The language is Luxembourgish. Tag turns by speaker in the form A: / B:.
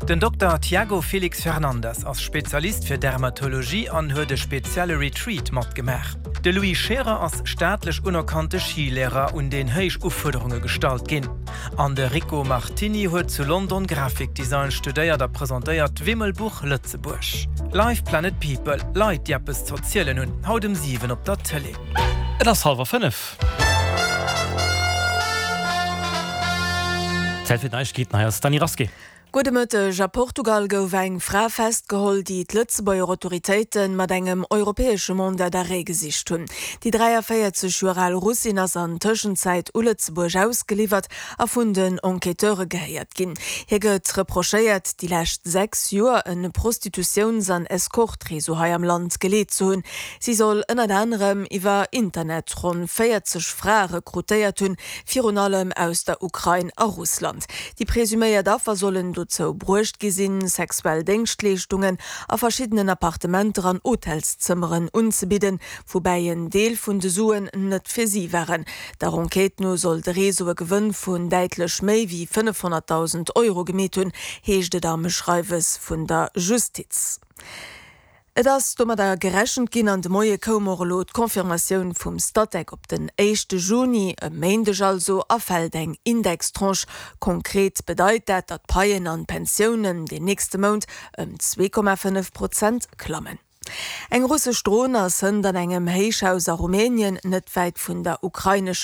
A: Den Dokter Tiago Felix Fernandes ass Spezialist fir Dermatologie an huet e spezielle Retreat matgemaach. De Louis Scherer ass staatlech unerkannte Skilehrer, un deen héich Ufuerderunge gestallt ginn. An de Rico Martini huet zu London Grafikdesign studéiert a presentéiert d'Wimmelbuch Lëtzebuerg. Live Planet People, Leit déi eppes z'erzielen hunn, haut um 7 op der Tëlee.
B: Et ass hallwer 5. Zäit fir d'Neiegkeeten, hei ass d'Dany Rasqué.
C: Gudde Mëtteg. A Portugal gouf eng Fra festgeholl, déi d'Lëtzebuerger Autoritéite mat engem europäesche Mandat d'arrêt gesicht hunn. Déi 43 Joer al Russin ass an Tëschenzäit u Lëtzebuerg ausgeliwwert a vun den Enquêteure gehéiert ginn. Hir gëtt reprochéiert, déi lescht 6 Joer e Prostitutiouns an Escort-Réseau hei am Land geleet ze hunn. Si soll ënnert anerem iwwer Internet ronn 40 Frae rekrutéiert hunn, virun allem aus der Ukrain a Russland. Déi presuméiert Affer sollen dozou bruecht gi sinn, sexuell Déngschtleeschtungen a verschiddenen Appartementer an Hotelszëmmeren unzebidden, woubäi en Deel vun de Suen net fir si waren. Der Enquête no soll de Réseau e Gewënn vun däitlech méi wéi 500.000 Euro gemeet hunn, heescht et am Schreiwes vun der Justiz. Et ass domadder gerechent ginn an de Moie koum och elo d'Confirmatioun vum Statec op den éischte Juni, e Méindeg also, erfält eng Indextranche. Konkret bedeit dat, datt d'Paien an d'Pensiounen den nächste Mount ëm 2,5 Prozent klammen. Eng russesch Dron ass hënt an engem Héichhaus a Rumänien, net wäit vun der ukrainescher.